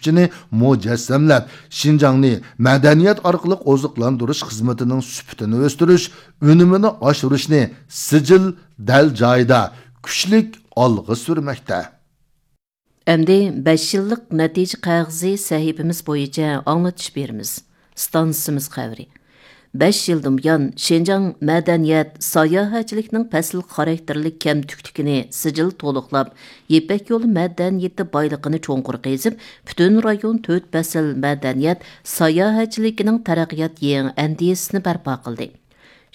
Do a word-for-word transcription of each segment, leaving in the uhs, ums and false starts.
كۈچىنى مۇجەسسەملەپ، شىنجاڭنى مەدەنىيەت ئارقىلىق ئوزۇقلاندۇرۇش خىزمىتىنىڭ سۈپىتىنى ئۆستۈرۈش، ئۈنۈمىنى ئاشۇرۇشنى سىجىل دەل جايىدا كۈچلۈك ئالغا سۈرمەكتە. ئەمدى بەش يىللىق نەتىجە قەغىزى سەھىپىمىز بويىچە ئاڭلىتىش بېرىمىز. ئىستانسىمىز خەۋىرى. بەش يىلدىن بۇيان، شىنجاڭ مەدەنىيەت، ساياھەتچىلىكنىڭ پەسىل خاراكتېرلىك كەمتۈكلۈكىنى سىجىل تولۇقلاپ، يىپەك يولى مەدەنىيىتى بايلىقىنى چوڭقۇر قېزىپ، پۈتۈن رايون تۆت پەسىل مەدەنىيەت، ساياھەتچىلىكىنىڭ تەرەققىيات يېڭى ئەندىزىسىنى بەرپا قىلدى.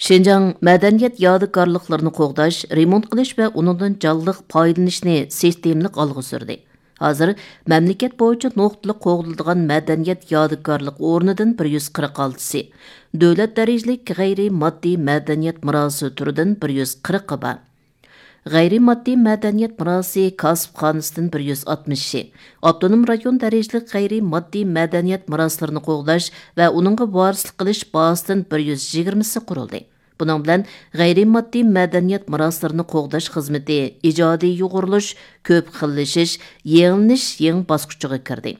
شىنجاڭ مەدەنىيەت يادىكارلىقلىرىنى قوغداش، رېمونت قىلىش ۋە ئۇنىڭدىن جانلىق پايدىلىنىشنى سىستېمىلىق ئالغا سۈردى. ھازىر مەملىكەت بويىچە نۇقتىلىق قوغدىلىدىغان مەدەنىيەت يادىكارلىق ئورنىدىن بىر يۈز قىرىق ئالتىسى، دۆلەت دەرىجىلىك غەيرىي ماددىي مەدەنىيەت مىراسى تۈرىدىن بىر يۈز قىرىقى بار. غەيرىي ماددىي مەدەنىيەت مىراسى كاسىپخانىسىدىن بىر يۈز ئاتمىشى، ئاپتونوم رايون دەرىجىلىك غەيرىي ماددىي مەدەنىيەت مىراسلىرىنى قوغداش ۋە ئۇنىڭغا ۋارىسلىق قىلىش بازىسىدىن بىر يۈز يىگىرمىسى قۇرۇلدى. بۇنىڭ بىلەن غەيرىي ماددىي مەدەنىيەت مىراسلىرىنى قوغداش خىزمىتى ئىجادىي يۇغۇرۇلۇش، كۆپ خىللىشىش، يېڭىلىنىش يېڭى باسقۇچىغا كىردى.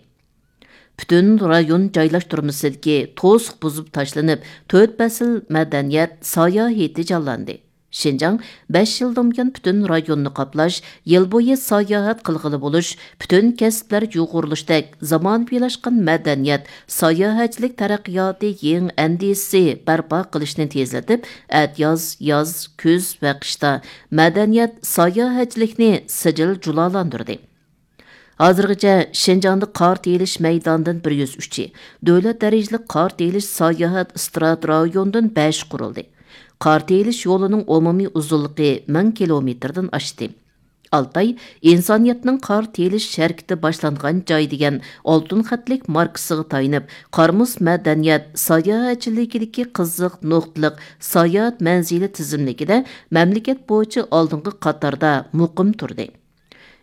پۈتۈن رايون جايلاشتۇرمىسىدىكى توسۇق بۇزۇپ تاشلىنىپ، تۆت پەسىل مەدەنىيەت ساياھىتى جانلاندى. شىنجاڭ بەش يىلدىن بۇيان پۈتۈن رايوننى قاپلاش، يىل بويى ساياھەت قىلغىلى بولۇش، پۈتۈن كەسىپلەر يۇغۇرۇلۇشتەك زامانىۋىلاشقان مەدەنىيەت، ساياھەتچىلىك تەرەققىياتى يېڭى ئەندىزىسى بەرپا قىلىشنى تېزلىتىپ، ئەتىياز، ياز، كۈز ۋە قىشتا مەدەنىيەت، ساياھەتچىلىكنى سىجىل جۇلالاندۇردى. ھازىرغىچە شىنجاڭدا قار تېيىلىش مەيدانىدىن بىر يۈز ئۈچى، دۆلەت دەرىجىلىك قار تېيىلىش ساياھەت ئىستراتېگىيە رايونىدىن بەش قۇرۇلدى. قار تېيىلىش يولىنىڭ ئومۇمىي ئۇزۇنلۇقى مىڭ كىلومېتىردىن ئاشتى. ئالتاي ئىنسانىيەتنىڭ قار تېيىلىش ھەرىكىتى باشلانغان جاي دېگەن ئالتۇن خەتلىك ماركىسىغا تايىنىپ، قار مۇز مەدەنىيەت ساياھەتچىلىكىدىكى قىزىق نۇقتىلىق ساياھەت مەنزىلى تىزىملىكىدە مەملىكەت بويىچە ئالدىنقى قاتاردا مۇقىم تۇردى.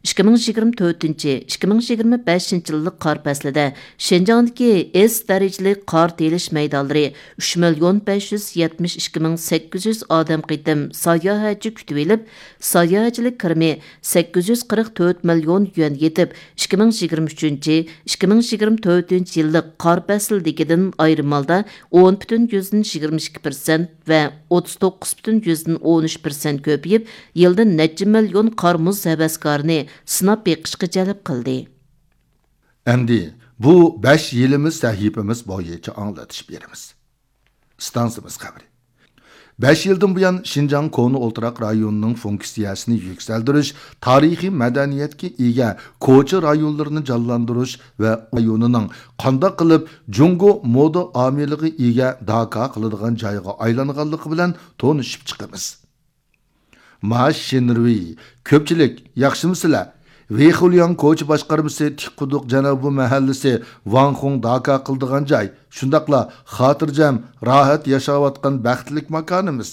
ئىككى مىڭ يىگىرمە تۆتىنچى، ئىككى مىڭ يىگىرمە بەشىنچى يىللىق قار پەسلىدە شىنجاڭدىكى ئېس دەرىجىلىك قار تېيىلىش مەيدانلىرى ئۈچ مىليون بەش يۈز يەتمىش ئىككى مىڭ سەككىز يۈز ئادەم قېتىم ساياھەتچى كۈتۈۋېلىپ، ساياھەتچىلىك كىرىمى سەككىز يۈز قىرىق تۆت مىليون يۈەن يېتىپ، ئىككى مىڭ يىگىرمە ئۈچىنچى، ئىككى مىڭ يىگىرمە تۆتىنچى يىللىق قار پەسلىدىكىدىن ئايرىم ھالدا ئون پۈتۈن يۈزدىن يىگىرمە ئىككى پىرسەنت ۋە ئوتتۇز توققۇز پۈتۈن يۈزدىن ئون ئۈچ پىرسەنت كۆپىيىپ، يىلدا نەچچە مىليون قار مۇز ھەۋەسكارىنى سىناپ بېقىشقا جەلپ قىلدى. ئەمدى بۇ بەش يىلىمىز سەھىپىمىز بويىچە ئاڭلىتىش بېرىمىز. ئىستانسىمىز خەۋىرى. بەش يىلدىن بۇيان شىنجاڭ كونا ئولتۇراق رايونىنىڭ فۇنكسىيەسىنى يۈكسەلدۈرۈش، تارىخىي مەدەنىيەتكە ئىگە كوچا رايونلىرىنى جانلاندۇرۇش ۋە رايونىنىڭ قانداق قىلىپ جۇڭگو مودا ئامىلىغا ئىگە داكا قىلىدىغان جايغا ئايلانغانلىقى بىلەن تونۇشۇپ چىقىمىز. ما شىنرۇي، كۆپچىلىك، ياخشىمۇسىلەر؟ ۋېيخۇلياڭ كوچا باشقارمىسى تىكقۇدۇق جەنۇبىي مەھەللىسى ۋاڭخۇڭ داكا قىلىدىغان جاي، شۇنداقلا خاتىرجەم، راھەت ياشاۋاتقان بەختلىك ماكانىمىز.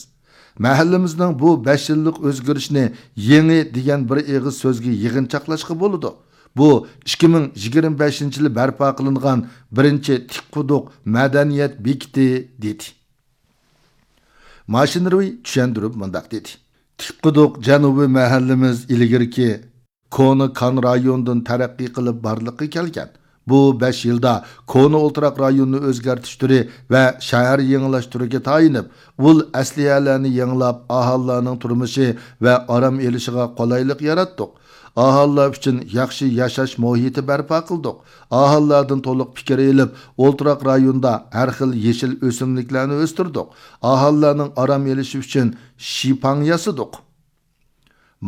مەھەللىمىزنىڭ بۇ بەش يىللىق ئۆزگىرىشىنى يېڭى دېگەن بىر ئېغىز سۆزگە يىغىنچاقلاشقا بولىدۇ. بۇ ئىككى مىڭ يىگىرمە بەشىنچى يىلى بەرپا قىلىنغان بىرىنچى تىكقۇدۇق مەدەنىيەت بېكىتى، دېدى. ما شىنرۇي چۈشەندۈرۈپ مۇنداق دېدى: تىكقۇدۇق جەنۇبىي مەھەللىمىز ئىلگىرىكى كونا كان رايونىدىن تەرەققىي قىلىپ بارلىققا كەلگەن. بۇ بەش يىلدا كونا ئولتۇراق رايونىنى ئۆزگەرتىش تۈرى ۋە شەھەر يېڭىلاش تۈرىگە تايىنىپ، ئۇل ئەسلىھەلەرنى يېڭىلاپ، ئاھالىلەرنىڭ تۇرمۇشى ۋە ئارام ئېلىشىغا قولايلىق ياراتتۇق. ئاھالىلەر ئۈچۈن ياخشى ياشاش مۇھىتى بەرپا قىلدۇق. ئاھالىلەردىن تولۇق پىكىر ئېلىپ، ئولتۇراق رايوندا ھەر خىل يېشىل ئۆسۈملۈكلەرنى ئۆستۈردۇق. ئاھالىلەرنىڭ ئارام ئېلىشى ئۈچۈن شىپاڭ ياسىدۇق.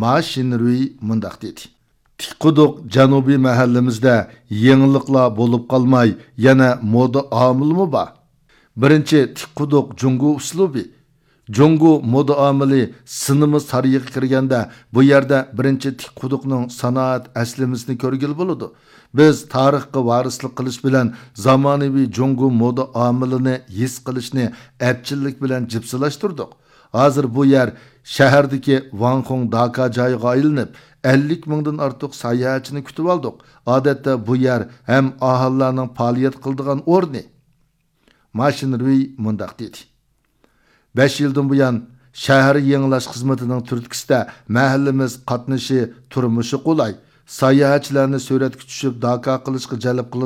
ما شىنرۇي مۇنداق دېدى: تىكقۇدۇق جەنۇبىي مەھەللىمىزدە يېڭىلىقلار بولۇپ قالماي، يەنە مودا ئامىلىمۇ بار. بىرىنچى، تىكقۇدۇق جۇڭگو ئۇسلۇبى. جۇڭگو مودا ئامىلى سىنېما سارىيىغا كىرگەندە، بۇ يەردە بىرىنچى تىكقۇدۇقنىڭ سانائەت ئەسلىمىسىنى كۆرگىلى بولىدۇ. بىز تارىخقا ۋارىسلىق قىلىش بىلەن زامانىۋى جۇڭگو مودا ئامىلىنى ھېس قىلىشنى ئەپچىللىك بىلەن جىپسىلاشتۇردۇق. ھازىر بۇ يەر شەھەردىكى ۋاڭخۇڭ داكا جايىغا ئايلىنىپ، ئەللىك مىڭدىن ئارتۇق ساياھەتچىنى كۈتۈۋالدۇق. ئادەتتە بۇ يەر ھەم ئاھالىلەرنىڭ پائالىيەت قىلىدىغان ئورنى. ما شىنرۇي مۇنداق دېدى: بەش يىلدىن بۇيان، شەھەر يېڭىلاش خىزمىتىنىڭ تۈرتكىسىدە مەھەللىمىز قاتنىشى، تۇرمۇشى قولاي، ساياھەتچىلەرنى سۈرەتكە چۈشۈپ داكا قىلىشقا جەلپ قىلىدىغان